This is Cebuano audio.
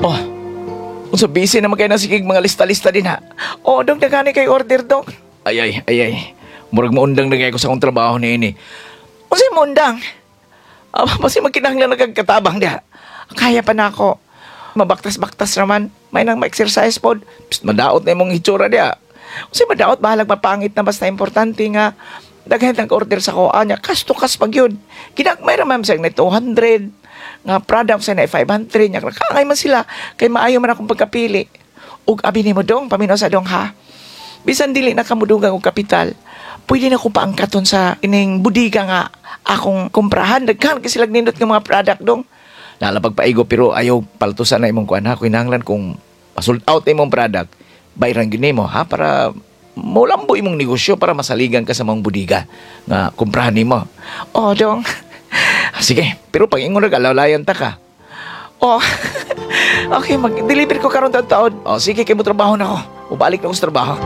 Oh, unsa, busy naman kay na sige mga lista-lista din ha. Oh, dong, daghan kay order, dong. Ay ay ay ay. Murag maundang na kay ko sa akong trabaho niini. Unsay maundang? Ah, basi magkinahanglan na kag katabang diha. Kaya pa na ako. Mabaktas-baktas naman. May nang ma-exercise pod. Psst, madaot na imong hitsura diha. Unsay madaot, bahalag mapangit na, basta importante nga daghan ang order sa ko anya, cash to cash pag yun. Ginagmay ra man sa na 200 nga product sa na 500 nya, kangay man sila kay maayo man akong pagkapili. Ug abi nimo, dong, paminaw sa dong ha. Bisan dili na kamudugang og kapital, pwede na ko paangkaton sa ining budiga nga akong kumprahan. Daghan kasi sila nindot nga mga product, dong. Nalapag paigo, pero ayaw paltusan na imong kuan ha. Kinahanglan kung sold out na imong product, bayran gyud nimo ha, para molambo imong negosyo, para masaligan ka sa mga budiga nga kumprahan nimo. Oh, dong. Sige, pero pag ingon ra alalayan ta ka. Oh. Okay, mag-deliver ko karon taon-taon. Oh, sige, kay mo trabaho na ko. Ubalik na ko sa trabaho.